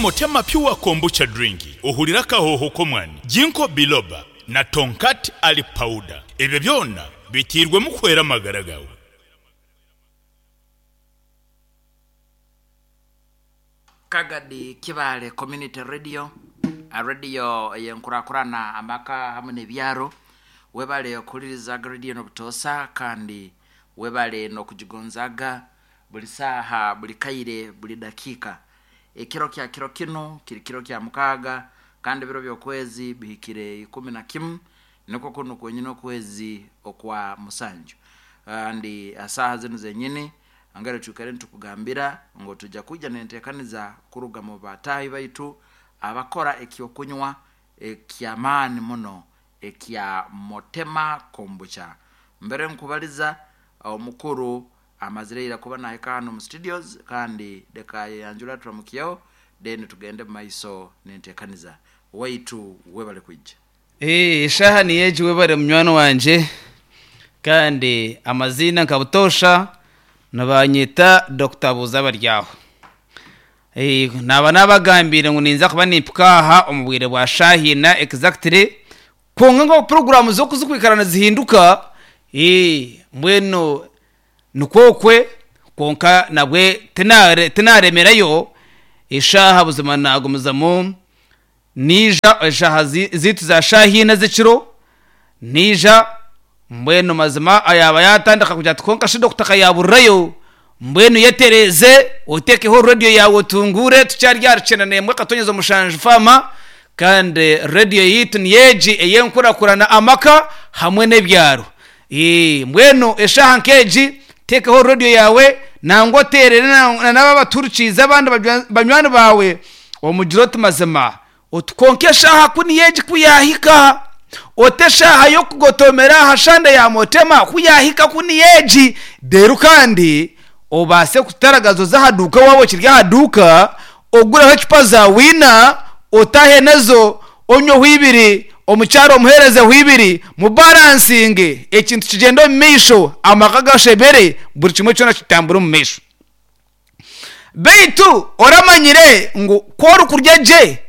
Motema Pure Kombucha Drink, ohurire akahooho k'omwani, Ginkgo Biloba na Tongkat Ali Powder. Ebyo byona biteirwemu kuhwera amagara gaawe. Kagadi Kibaale Community Radio, Radio ey'enkurakurana amaka hamwe n'ebyaro. Webale kuhuririzaga radio eno butoosa kandi webale n'okugigonzaaga buri saaha, buri kaire, buri dakiika. Ekiro kya kiro kinu kiri kiro kya mukaaga kandi ebiro by'okwezi bihikire 11, nikwo kunu kwenyini okwezi okwa musanju. Kandi ha saaha zinu zenyini Nambere twikaire nitukugambira ngu twija kwija n'entekaniza kuruga mu bataahi baitu abakora eky'okunywa eky'amaani muno ekya Motema Kombucha. Mbere nkubaliza, omukuru amazire ira kuba nahika hanu omu studios kandi leka ayeyanjure aturamukyeho then tugende mu maiso n'entekaniza. Waitu webale kwija. Eshaaha niyo egi webare munywani wangye kandi amaziina nka butoosha nibanyeta Dokita Buuzabaryaho. Naaba naabagambiire ngu ninza kuba nimpika aha omu bwire bwa shaaha ina exactly kwonka nk'oku puroguraamu z'oku zirikwikara nizihinduka mbwenu nikwo okwe kwonka nabwe tinaaremerayo eshaaha buzima naagumizamu Naija eshaaha zaitu za shaaha ina z'ekiro, naija, mbwenu mazima yaaba yaatandika kugira ati kwonka shi dokita akayaburirayo, mbwenu yetereeze oteekeho rediyo yaawe otunguure, tukyari aha rukyenda n'emwe akatonyeza omushanju faama, kandi rediyo yaitu niyo egi ey'enkurakurana amaka hamwe n'ebyaro. Mbwenu eshaaha nk'egi teekaho rediyo yaawe nangwa oteerere na n'abo abatuhurikiize abandi banywani baawe omugire oti mazima oti kwonka eshaaha ku niyo egi ku yaahika oti eshaaha y'okugotomera aha shande ya Motema ku yaahika ku niyo egi reero kandi obaase kutaragaza oze aha duuka waaba okiri aha duuka ogureho ecupa za wiina otaahe nazo onyweho ibiri, omukyara omuheerezeho ibiri, mubaransinge, ekintu kigyende omu maisho, amaka gashemere, buri kimwe kyona kitambure omu maisho. Beitu oramanyire ngu ku orikurya gye,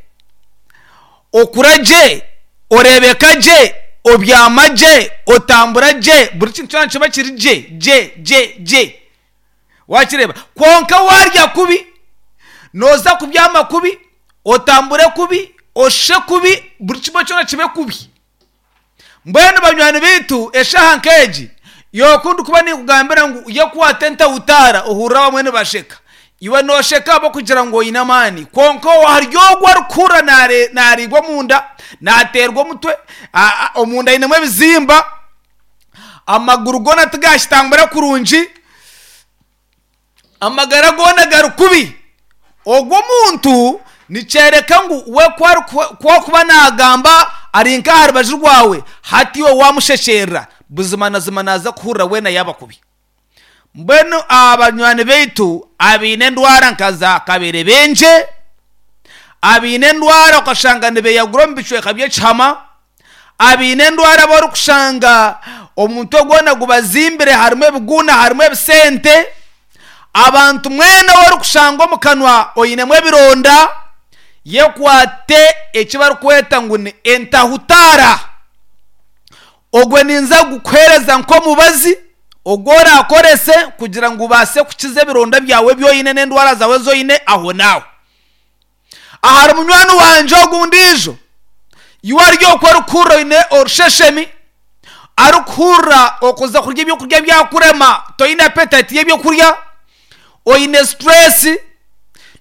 okura gye, oreebeka gye, obyama gye, otambura gye, buri kintu kyona nikiba kiri gye gye gye gye. Waakireeba? Kwonka waarya kubi, nooza kubyama kubi, otambure kubi, oshushe kubi, buri kimwe kyona kibe kubi. Mbwenu banywani baitu, eshaaha nk'egi y'oku ndikuba ninkugambira ngu yekwate entautaara ohurire abamwe nibasheka. Iwe noosheka ahabw'okugira ngu oine amaani, kwonka ahari ogwo orikuhurira naariibwa omunda, naateerwa omutwe, omunda ainemu ebizimba, amaguru goona tigakitambura kurungi, amagara goona gari kubi. Ogwo omuntu nikyoreka ngu we ku arikuba naagamba ari nk'aha rubaju rwawe, hati iwe waamushekyerera, buzima na zima naaza kuhurira weena yaaba kubi. Mbwenu banywani baitu abaine endwara nka za kaberebengye, abaine endwara okashanga nibeyagura omu bicweka by'ekihama, Abaine endwara abu orikushanga omutwe gwona gubazimbire harimu ebiguuna harimu ebisente, abantu mwena ou orikushanga omu kanwa oinemu ebironda, yekwate eki barikweta ngu ni entahutaara. Ogwe ninza kugukuheereza nk'omubazi ogu oraakorese kugira ngu obaase kukiza ebironda byawe ebi oine n'endwara zaawe ezi oine ahonaaho. Ahari munywani wangye ogu ondiijo, iwe ari okwo orikuhurira oine orusheshemi, arikuhurira okuza kurya ebyokurya byakurema toine appetite y'ebyokurya, oine stress,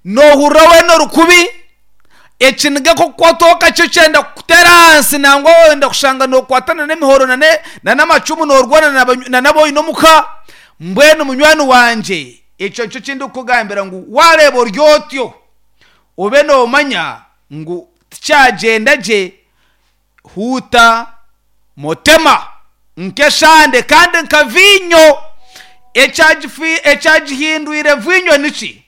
noohurira weena ori kubi, ekiniga kukukwataho kakye kyenda kukuteera ahansi nangwa wenda kushanga nookwata n'emihoro n'amacumu noorwana n'abu oine omuka, mbwenu munywani wangye ekyo nikyo eki ndikukugambira ngu waareeba ori otyo, obe noomanya ngu tikyagyenda gye, huuta motema nk'eshande kandi nka viinyo. Ekyagihindwire viinyo niki?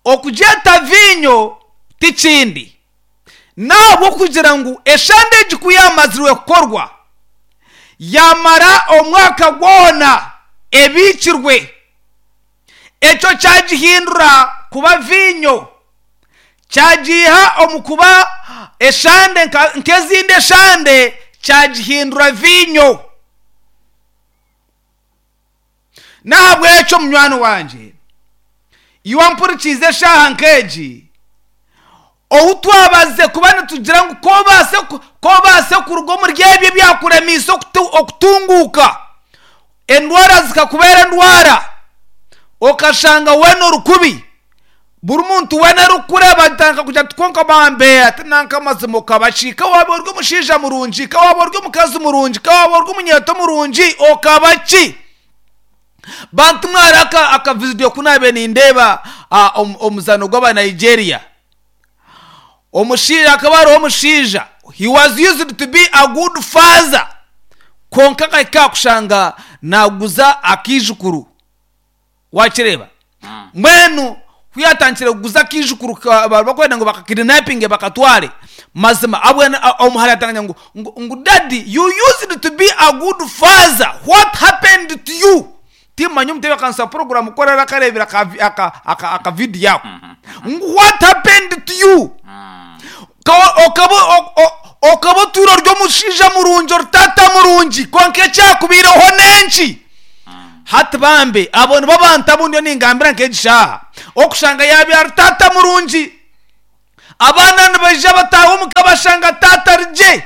Okugyeta viinyo ti kindi, n'ahabw'okugira ngu eshande egi ku yaamazirwe kukorwa, yaamara omwaka gwona ebiikirwe. Ekyo kyagihindura kuba viinyo. Kyagiiha omu kuba eshande nk'ezindi eshande, kyagihindura viinyo. N'ahabw'ekyo munywani wangye, iwe ompurikiize eshaaha nk'egi, ou twabazize kuba nitugira ngu ku obaase ku obaase kuruga omuri ebyo ebyakuremiise okutunguuka, endwara zikakubeera endwara, okashanga weena ori kubi, Buri muntu weena arikukureeba atandika kugira ati kwonka bambe ati nanka amazima okaba ki? Ka waaba ori omushaija murungi, ka waaba ori omukazi murungi, ka waaba ori omunyeeto murungi okaba ki? Bantu mwe hariho aka akavidiyo ku naabaire nindeeba omuzaano gw'aba Nigeria. Omushaija hakaba hariho omushaija he was used to be a good father kwonka akahika aha kushanga naaguza akaijukuru. Wakireeba? Mbwenu ku yaatandikire kuguza akaijukuru ka bari barikwenda ngu bakakidinapinge bakatware, mazima abwene omuhara yaatandika ngu ngu ngu daddy you used to be a good father what happened to you? Timmanya omutebeekanisa wa puroguraamu ku araabe akareebire aka aka aka akavidiyo ako. Ngu what happened to you? Ka okaba okaba otwire ori omushaija murungi ori taata murungi kwonka ekyakubaireho n'enki? Hati bambe, abo nibo bantu abu ndiyo ningambira nk'egi shaaha. Okushanga yaabaire ari taata murungi. Abaana nibaija bataaha omu ka bashanga taata ari gye.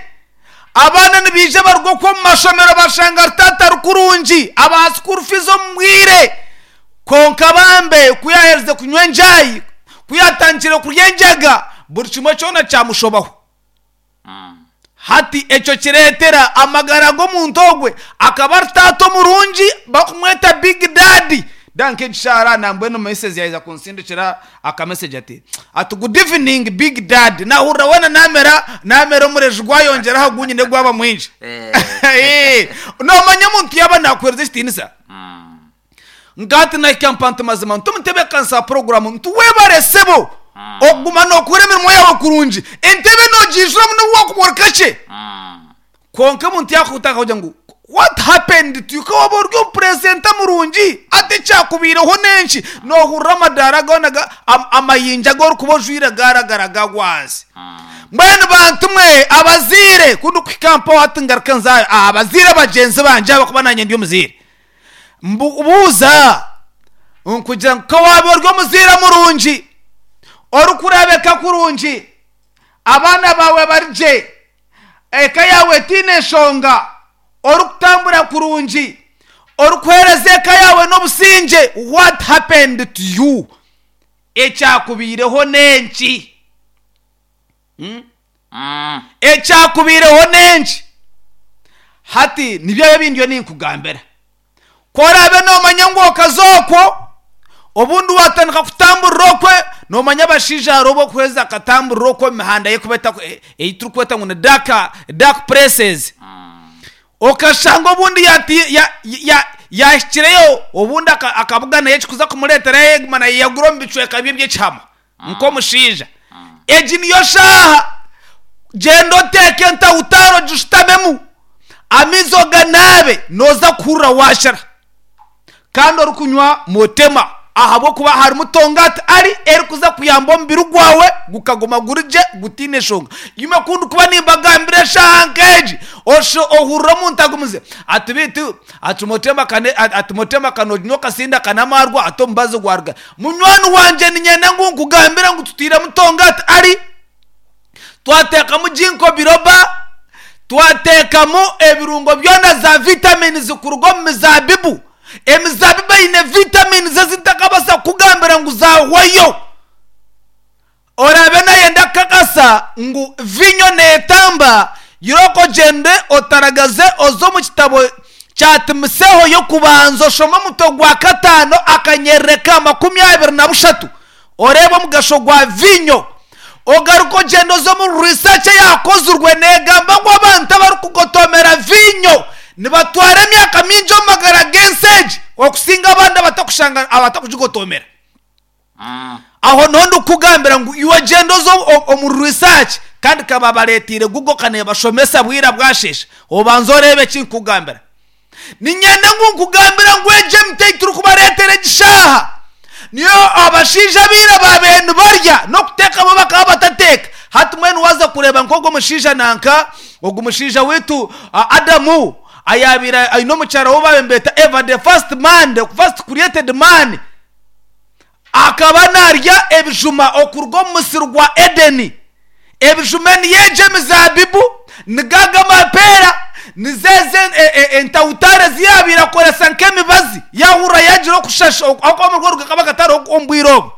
Abaana nibaija baruga okwo omu mashomero bashanga ari taata ari kurungi, abaha school fees omu bwire. Kwonka bambe, ku yaaherize kunywa enjaayi, ku yaatandikire kurya enjaga, buri kimwe kyona kyamushobaho. Hati ekyo kireetera amagara g'omuntu ogwe akaba ari taata omurungi bakumweta big daddy. Nda nk'ekishaara nambwenu missus yaheza kunsindikira aka message ati ati good evening big daddy nahurira weena namera namera omureju gwayongyera aha gu nyine gwaba mwingi. Noomanya omuntu yaaba naakuheereza ekitiinisa. Nkati nahika mpa nti mazima nti omutebeekanisa wa puroguraamu nti webare sebo okuguma nookora emirimo yaawe kurungi entebe nogiijuramu n'obu waakuba ori kakye kwonka omuntu yaakuhutaho akakugira ngu what happened to you ka waaba ori omupurezenta murungi hati ekyakubaireho n'enki noohurira amadaara goona amayinja agu orikuba ojwaire gaaragara gagwa ahansi mbwenu bantu mwe abazaire ku ndikuhika mpaho hati ngaruke nze aha bazaire bagyenzi bangye ahabw'okuba naanye ndi omuzaire Mbuuza nkugira ngu ka waaba ori omuzaire murungi, orikureebeka kurungi, abaana baawe bari gye, eka yaawe etaine nshonga, orikutambura kurungi, orikuheereza eka yaawe n'obusingye, what happened to you? Ekyakubaireho n'enki? Ekyakubaireho n'enki? Hati nibyo ebi ndiyo ninkugambira. Ku oraabe noomanya ngu okaza okwo, obundi waatandika kutamburira okwe, noomanya abashaija hariho obu orikuheza akatamburira okwo omu mihanda ei turikweta ngu ni dark, dark places. Okashanga obundi yaahikireyo, obundi akabuganayo ekirikuza kumureetera yayeguma nayeyagura omu bicweka bye eby'ekihama. Nk'omushaija. Egi niyo shaaha. Gyenda oteeke entawutaaro ogishutamemu, amaizi oganaabe, nooza kuhurira waashira. Kandi orikunywa motema ahabw'okuba harimu tongati ari erikuza kuyamba omubiri gwawe gukaguma guri gye gutaine nshonga. Imwe ku ndikuba nimbagambira eshaaha nk'egi, ohurira omuntu agumize ati beitu ati motema kane ati motema ka nooginywa okasinda ka n'amaarwa ati omubazi gwaruga. Munywani wangye niinyenda ngu nkugambire ngu tutairemu tongati ari, twateekamu ginkgo biloba, twateekamu ebirungo byona za vitamins kuruga omu mizaabibu. Emizaabibu eine vitamins ezi ntakabaasa kukugambira ngu zaahwayo. Oraabe naayenda kukakasa ngu viinyo neetamba, irooko ogyende otaragaze oze omu kitabo kya Timoseeho y'Okubanza oshome omutwe gwa kataano akanyerere ka 26 oreebe omugasho gwa viinyo. Ogaruke ogyende oze omu risaaki eyaakozirwe neegamba ngu abantu abarikugotomera viinyo nibatwara emyaka mingi omu magara g'ensi egi okusinga abandi abatakugigotomera. Aho niho ndikukugambira ngu iwe gyenda oze omu research kandi ka babareeteire Google ka neebashomesa bwira bwasheesha obanze oreebe eki nkukugambira. Niinyenda ngu nkugambire ngu egi emiti ei turikubareetera egi shaaha niyo abashaija aba ira baabaire nibarya n'okuteekamo bakaba. Kureeba nk'ogwo mushaija nanka, ogu mushaija waitu Adamu ayaabaire aine omukyara we ou baabaire nibeeta Eva, the first man, the first created man, akaba naarya ebijuma okuruga omu musiri gwa Edeni. Ebijuma niyo egyo emizaabibu, nigo ago amapeera, nizo ezo entawutaare ezi yaabaire akoresa nk'emibazi yaahurira yaagira okushasha ahabw'okuba amarwaro gakaba gatariho omu bwire obwo.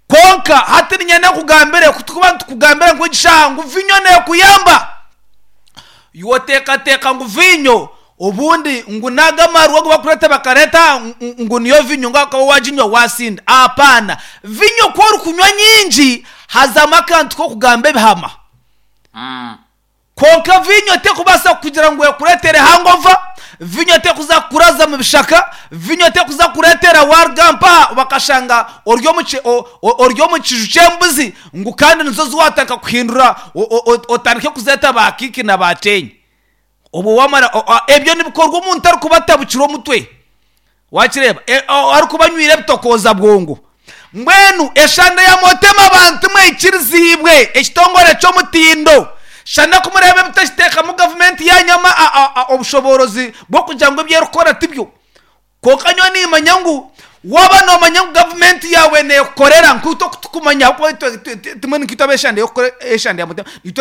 Kwonka hati niinyenda nkugambire ku turikuba nitukugambira ngu egi shaaha ngu viinyo neekuyamba, iwe oteekateeka ngu viinyo obundi ngu n'ago amarwa agu barikureeta bakareeta aha ngu niyo viinyo ngu ahabw'okuba waaginywa waasinda. Apaana! Viinyo ku orikunywa nyingi hazamu akantu k'okugamba ebihama. Kwonka viinyo terikubaasa kukugira ngu ekureetere hangova, viinyo terikuza kukuraza mu bishaka, viinyo terikuza kukureetera waaruga mpaha bakashanga ori omu ki- o- o- ori omu kiju ky'embuzi ngu kandi nizo zi waatandika kuhindura o- o- o- otandike kuzeeta baakiiki na baakyenyi. Obwo waamara o- o- ebyo nibikorwa omuntu arikuba atabukire omutwe. Wakireeba? E, o- arikuba anywire ebitokooza bwongo. Mbwenu eshande ya Motema bantu mwaikiriziibwe ekitongore ky'omutindo. Shana ku mureeba ebitakiteekamu gavumenti yaanyu ama a, a, a, obushoboorozi bw'okugira ngu ebi erikukora tibyo. Kwonka nyowe niimanya ngu waaba noomanya ngu gavumenti yaawe neekukorera nk'itwe oku tukumanya ahabw'okuba itwe, itwe, timwe nkaitwe ab'eshande y'okukora eshande ya Motema. Itwe.